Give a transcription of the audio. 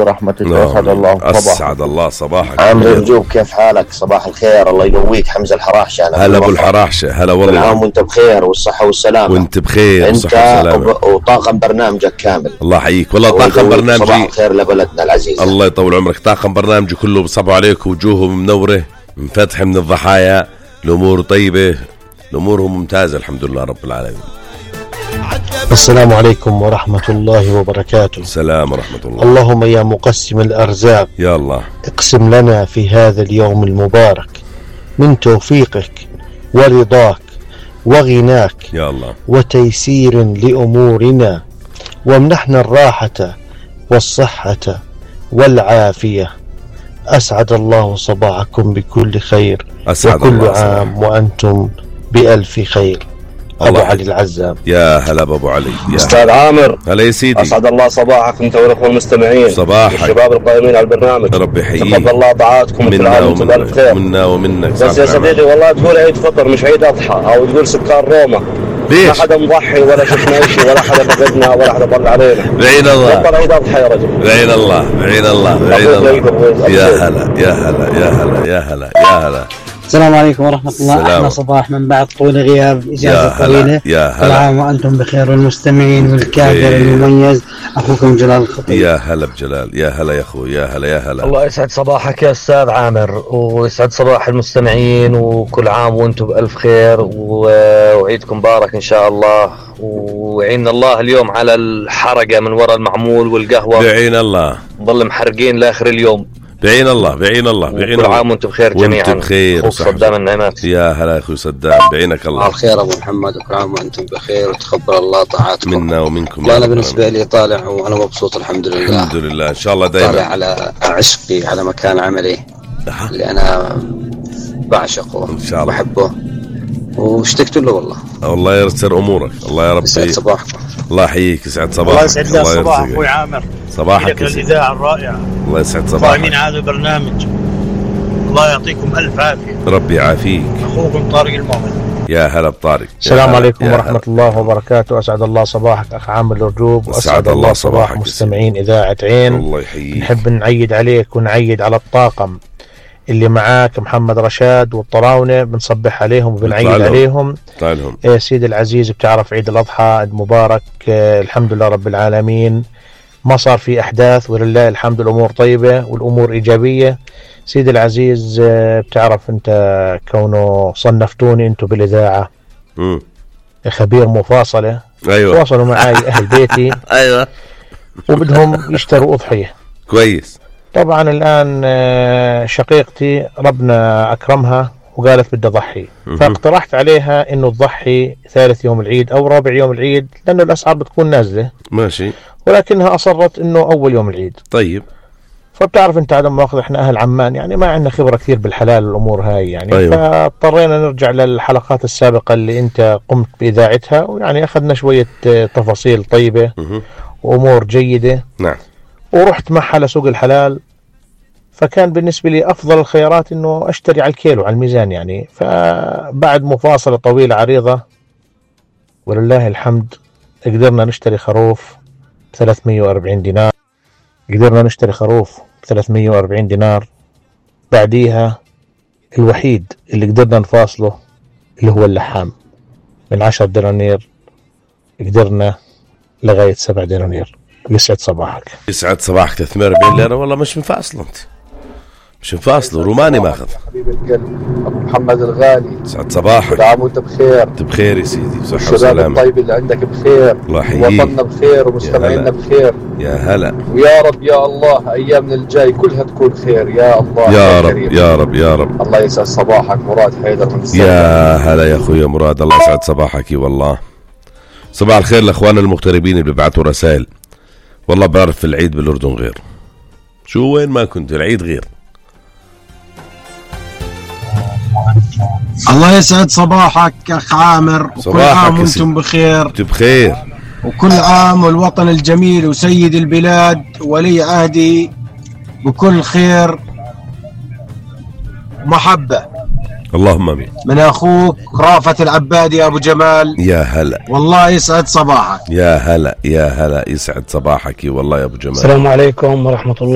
ورحمة الله. أسعد الله صباحك. أسعد الله صباحك. عامر رجوب، كيف حالك؟ صباح الخير، الله يقويك. حمزة الحراحشة. هلا أبو الحراحشة، هلا والله. كل عام وأنت بخير والصحة والسلامة. وأنت بخير أنت وطاقم برنامجك كامل. الله يحييك. والله طاقم برنامجي صباح الخير لبلدنا العزيزة. الله يطول عمرك. طاقم برنامجي كله بصبوا عليك، وجوههم منورة منفتحة من الضحايا، الأمور طيبة، الأمورهم ممتازة الحمد لله رب العالمين. السلام عليكم ورحمة الله وبركاته. السلام ورحمة الله. اللهم يا مقسم الأرزاق، يا الله اقسم لنا في هذا اليوم المبارك من توفيقك ورضاك وغناك يا الله، وتيسير لأمورنا، وامنحنا الراحة والصحة والعافية. أسعد الله صباحكم بكل خير، وكل عام وأنتم بألف خير. أبو علي العزام. يا هلا أبو علي. أستاذ عامر، هلا يا سيدي. أسعد الله صباحك أنت والأخوة المستمعين. صباحك. الشباب القائمين على البرنامج، ربي يحييك. تقبل الله طاعاتكم وكل عام وأنتم بألف خير. منا ومنك. بس يا صديقي والله تقول عيد فطر مش عيد أضحى، أو تقول سكان روما. ليش؟ ما حدا مضحي ولا شفنا شيء، ولا حدا فقدنا ولا حدا طلع علينا. بعين الله. بطل عيد أضحى يا رجل. بعين الله، بعين الله، بعين الله. يا هلا يا هلا يا هلا يا هلا يا هلا. السلام عليكم ورحمة الله. أحلى صباح من بعد طول غياب، إجازة طويلة. يا هلا. كل عام وأنتم بخير، والمستمعين والكادر المميز أخوكم جلال الخطيب. يا هلا بجلال. يا هلا يا أخوي. يا هلا يا هلا. الله يسعد صباحك يا أستاذ عامر، ويسعد صباح المستمعين، وكل عام وأنتم بألف خير، وعيدكم مبارك إن شاء الله، وعين الله اليوم على الحرقة من وراء المعمول والقهوة. بعين الله. نضل محرقين لآخر اليوم. بعين الله بعين الله بعين الله. كل عام وانتم بخير جميعا. وانتم بخير. صدام النعمات. يا هلا يا اخوي صدام، بعينك الله. الخير ابو محمد، وكل عام وانتم بخير، وتقبل الله طاعاتكم منا ومنكم. لا انا بالنسبه لي طالع وانا مبسوط الحمد لله. الحمد لله ان شاء الله دائما. طالع على عشقي، على مكان عملي اللي انا بعشقه ان شاء الله بحبه، واشتقت له والله. الله ييسر امورك. الله يا رب يسعد صباحكم. الله يحييك. يسعد صباحك. الله يسعد لنا صباح اخوي عامر. صباحك الاذاعه الرائعه. الله يسعد صباحك. قائمين هذا البرنامج، الله يعطيكم الف عافيه. ربي يعافيك. اخوكم طارق المؤمن. يا هلا بطارق. السلام عليكم ورحمة الله وبركاته. أسعد الله صباحك أخ عامر الرجوب، وأسعد الله صباح مستمعين إذاعة عين. الله يحييك. نحب نعيد عليك ونعيد على الطاقم اللي معاك، محمد رشاد والطراونة، بنصبح عليهم وبنعيد عليهم. سيد العزيز، بتعرف عيد الأضحى المبارك. الحمد لله رب العالمين، ما صار في أحداث ولله الحمد، الأمور طيبة والأمور إيجابية. سيد العزيز، بتعرف أنت كونه صنفتوني أنتو بالإذاعة خبير مفاصلة. أيوة. تواصلوا معي أهل بيتي. أيوة. وبدهم يشتروا أضحية. كويس. طبعا الآن شقيقتي ربنا أكرمها وقالت بدي أضحي، فاقترحت عليها إنه تضحي ثالث يوم العيد أو رابع يوم العيد، لأنه الأسعار بتكون نازلة. ماشي. ولكنها أصرت إنه أول يوم العيد. طيب. فبتعرف أنت عدم مؤاخذة، إحنا أهل عمان يعني ما عندنا خبرة كثير بالحلال والأمور هاي يعني. أيوة. فاضطرينا نرجع للحلقات السابقة اللي أنت قمت بإذاعتها، ويعني أخذنا شوية تفاصيل طيبة وأمور جيدة. نعم. ورحت معها لسوق الحلال، فكان بالنسبة لي أفضل الخيارات إنه أشتري على الكيلو على الميزان يعني. فبعد مفاصلة طويلة عريضة ولله الحمد قدرنا نشتري خروف ب340 دينار. قدرنا نشتري خروف ب340 دينار. بعديها الوحيد اللي قدرنا نفاصله اللي هو اللحام، من 10 دنانير قدرنا لغاية 7 دنانير. يسعد صباحك. يسعد صباحك. 340 ليرة والله مش مفاصل، انت مش مفاصل. روماني ماخذ. حبيب القلب ابو محمد الغالي، يسعد صباحك. كل عام وانت بخير. انت بخير يا سيدي، صحة الشباب وسلامة. الطيب اللي عندك بخير، الله يحييك. وطننا بخير ومستمعينا بخير. يا هلا. ويا رب يا الله ايامنا الجاي كلها تكون خير يا الله. يا رب يا رب يا رب. الله يسعد صباحك. مراد حيدر من السلام. يا هلا يا اخويا مراد، الله يسعد صباحك والله. صباح الخير لاخواننا المغتربين اللي بيبعتوا رسائل. والله بعرف العيد بالاردن غير، شو وين ما كنت العيد غير. الله يسعد صباحك اخ عامر، وكل عام وانتم بخير. انت بخير، وكل عام والوطن الجميل وسيد البلاد ولي عهدي بكل خير محبة. اللهم امين. من اخوك رافت العبادي ابو جمال. يا هلا. والله يسعد صباحك. يا هلا يا هلا، يسعد صباحك والله يا ابو جمال. السلام عليكم ورحمة الله